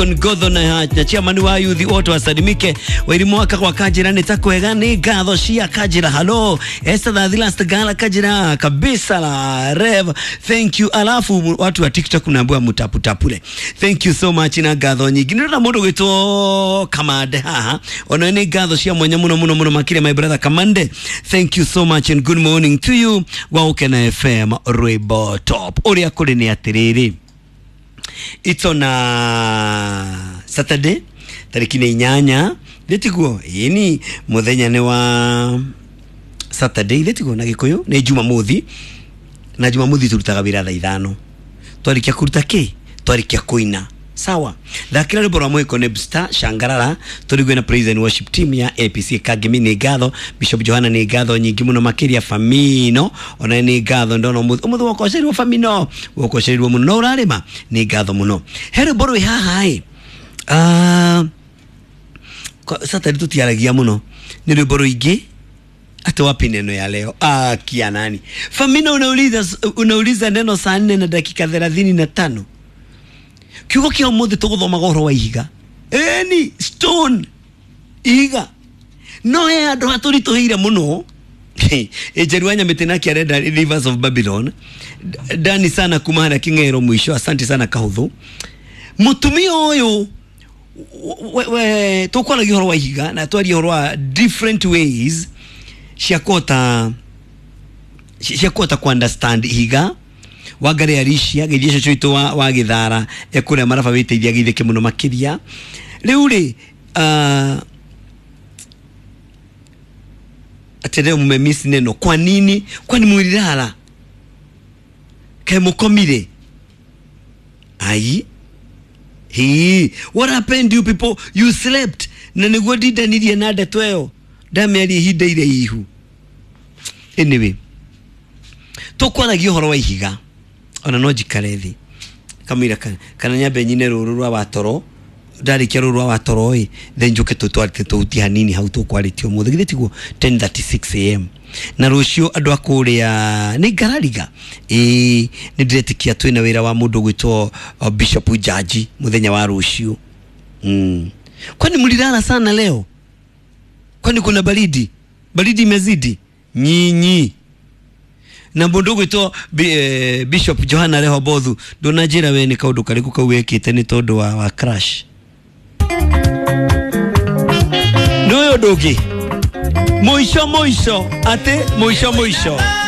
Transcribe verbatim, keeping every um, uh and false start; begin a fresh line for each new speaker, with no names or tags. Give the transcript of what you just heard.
Deacon Godho na, na chairman wa youth wote wasalimike. Wairimu waka kwa Kajira ni takwega ni ngatho cia Kajira. Hello Esther the last gala Kajira kabisa la Rev, thank you. Alafu watu wa TikTok mnaambiwa mutaputapule, thank you so much na ngatho nyingi. Ndirona mundu gwitwo Kamande haha, ona ni ngatho cia mwanya muno muno muno makire. My brother Kamande, thank you so much and good morning to you. Wa Ukena F M rwimbo top uria kuri ni atiriri, it's on a Saturday tariki ni inyanya thitiguo ini muthenya ni wa Saturday thitiguo na Gikuyu ni Jumamothi, na Jumamothi turutaga wira thaa ithano twarikia kuruta ki twarikia kuina sawa. Thakira rwimbo rwa mwiko ni Star Shangarara turigwe na praise and worship team ya A P C Kagemi ni ngatho. Bishop Johana ni ngatho nyingi muno makiria. Famino ona ni ngatho ndono umuthi umuthi wokocerirwo Famino wokocerirwo muno no urarima ni ngatho muno. He rwimbo rwi haha i ah Saturday tutiaragia muno ni rwimbo rwingi ati wapi neno ya leo. Ah kia nani Famino unauliza unauliza neno saa nne na dakika thelathini na tano. Kiugo kia umuthi tuguthomaga uhoro wa ihiga. Eni stone ihiga no he andu haturituhire muno. Ejeru Nyamiti nake arenda Rivers of Babylon. Dani sana kuma haria King'ero mwisho, asante sana Kahuthu. Mutumia uyu tukwaragia uhoro wa ihiga na twaria uhoro wa different ways cia kuhota cia kuhota ku understand ihiga. Wangari Arishia githie cucu witu wa, wa githara ekuria maraba witeithia githike muno makiria riu ri uh, ati leo mmemiss neno kwa nini kwani mwililala ke mukomire ai he what happened you people you slept na niguo ndindanirie na ndeto ĩyo ndamĩaria ihinda iraihu. Anyway tukwaragia ũhoro wa ihiga ona no njikare thi kamwira kana nyambe nyine ruru rwa watoro ndarikia ruru rwa watoro ĩ then njuke tutwarite tuhutie hanini hau tukwarĩtie ũmũthĩ githĩ tiguo ten thirty-six A M na rũciũ andũ a kũrĩa nĩ ngarariga ĩĩ nĩ ndĩretĩkia twĩna wĩra wa mũndũ gwĩtwo Bishop Jaji mũthenya wa rũciũ. Mm. Kwani mlilala sana leo? Kwani kuna baridi? Baridi imezidi nyinyi. Na mundu gwitwo eh, Bishop Johana Rehobothu ndunanjira we ni kaundu kariku kau wekite ni tondu wa, wa crash no yo ndungi muico muico ati muico muico.